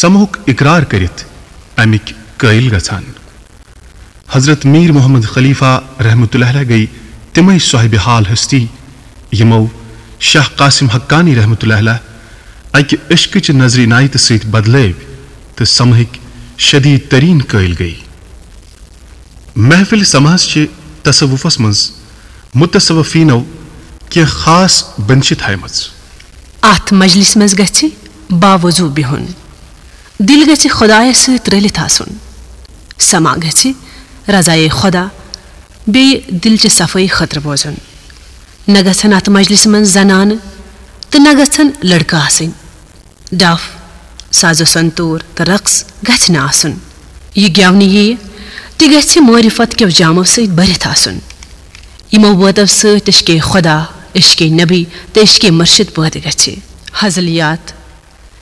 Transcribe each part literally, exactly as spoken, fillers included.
سمہُک اقرار کٔرِتھ امِکۍ قٲیل گژھان۔ حضرت میر محمد خلیفہ رحمتہ اللہ علیہ گٔیہِ تِمے صاحب حال ہستی یِمو شاہ قاسم حقانی رحمتہ اللہ علیہ اکہِ عشقٕچہِ نظرِ عنایتہٕ سۭتۍ بدلٲوۍ تہٕ سمہٕکۍ شدید ترین قٲیل گٔیہِ۔ محفل سماہس چھِ تصوفس منٛز متصوفینو کینٛہہ خاص بندشہٕ تھایمژٕ۔ اتھ مجلسہِ منٛز گژھِ باوضو بِہُن۔ دِل گژھِ خۄدایس سۭتۍ رٔلِتھ آسُن۔ سما گژھِ رضایے خۄدا بیٚیہِ دِلچہِ صفٲیی خٲطرٕ بوزُن۔ نہ گژھن اتھ مجلسہِ منٛز زنانہٕ تہٕ نہ گژھن لڑکہٕ آسٕنۍ۔ ڈف، ساز و سنتور تہٕ رقص گژھِ نہٕ آسُن۔ یہِ گٮ۪ونہٕ یِیہِ تہِ گژھِ معرفت کیو جامو سۭتۍ بٔرِتھ آسُن۔ یِمو بٲتو سۭتۍ عشقِ خۄدا، عشقِ نبی تہٕ عشقِ مرشد پٲدٕ گژھِ۔ ہزلیات،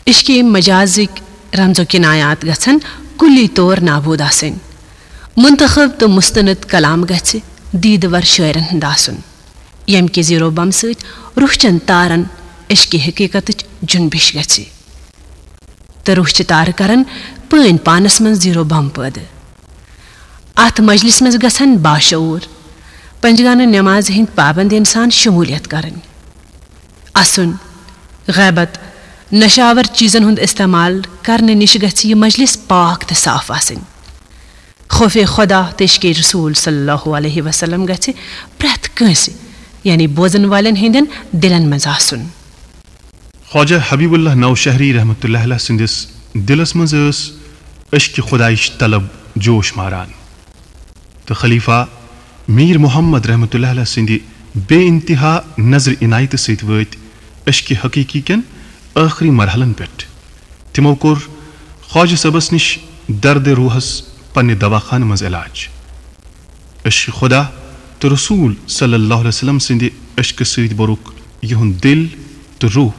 عشقِ مجازٕکۍ رمز و کنایات گژھن کُلی طور نابود آسٕنۍ۔ منتخب تہٕ مستند کلام گژھِ دیدٕ ور شٲعرن ہُنٛد آسُن، ییٚمہِ کہِ زیٖرو بم سۭتۍ روح چٮ۪ن تارن عشقِ حقیقتٕچ جنبش گژھِ۔ تہٕ روح چہِ تارٕ کرن پٲنۍ پانس منٛز زیٖرو بم پٲدٕ۔ اتھ مجلسہِ منٛز گژھن باشعور، پنجگانہٕ نمازِ ہٕنٛدۍ پابند انسان شمولیت کرٕنۍ۔ اسُن، غیبت، نشاور چیزن ہُنٛد استعمال کرنہٕ نِش گژھِ یہِ مجلس پاک تہٕ صاف آسٕنۍ۔ خوفِ خدا تہٕ عشقِ رسول صلی اللہ علیہ وسلم گژھِ پرٛٮ۪تھ کٲنٛسہِ، یعنی بوزن والٮ۪ن ہٕنٛدٮ۪ن دِلن منٛز آسُن۔ خواجہ حبیب اللہ نوشہری رحمتہ اللہ علیہ سٕنٛدِس دِلس منٛز ٲس عشقِ خۄدایِچ طلب جوش ماران، تہٕ خلیفہ میر محمد رحمتہ اللہ علیہ سٕنٛدِ بے انتہا نظرِ عنایتہٕ سۭتۍ وٲتۍ عشقِ حقیقی کٮ۪ن ٲخری مرحلن پٮ۪ٹھ۔ تِمو کوٚر خواجہ صٲبس نِش دردِ روحس پننہِ دواخانہٕ منٛز علاج۔ عشقِ خدا تہٕ رسول صلی اللہ علیہ وسلم سٕنٛدِ عشقہٕ سۭتۍ بوٚرُکھ یِہُنٛد دِل تہٕ روح،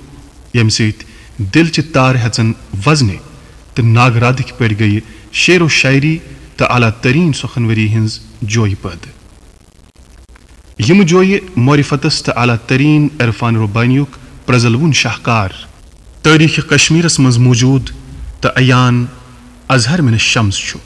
ییٚمہِ سۭتۍ دِل چہِ تارٕ ہٮ۪ژن وزنہِ تہٕ ناگرادٕکۍ پٲٹھۍ گٔیہِ شعر و شاعری تہٕ اعلیٰ تریٖن سۄخنوری ہٕنٛز جویہِ پٲدٕ۔ یِم جویہِ معرفتس تہٕ اعلیٰ تریٖن عرفان ربانیُک پرزلوُن شاہکار تٲریخِ کشمیرس منٛز موجود تہٕ عیان اظہر من الشمس چھُ۔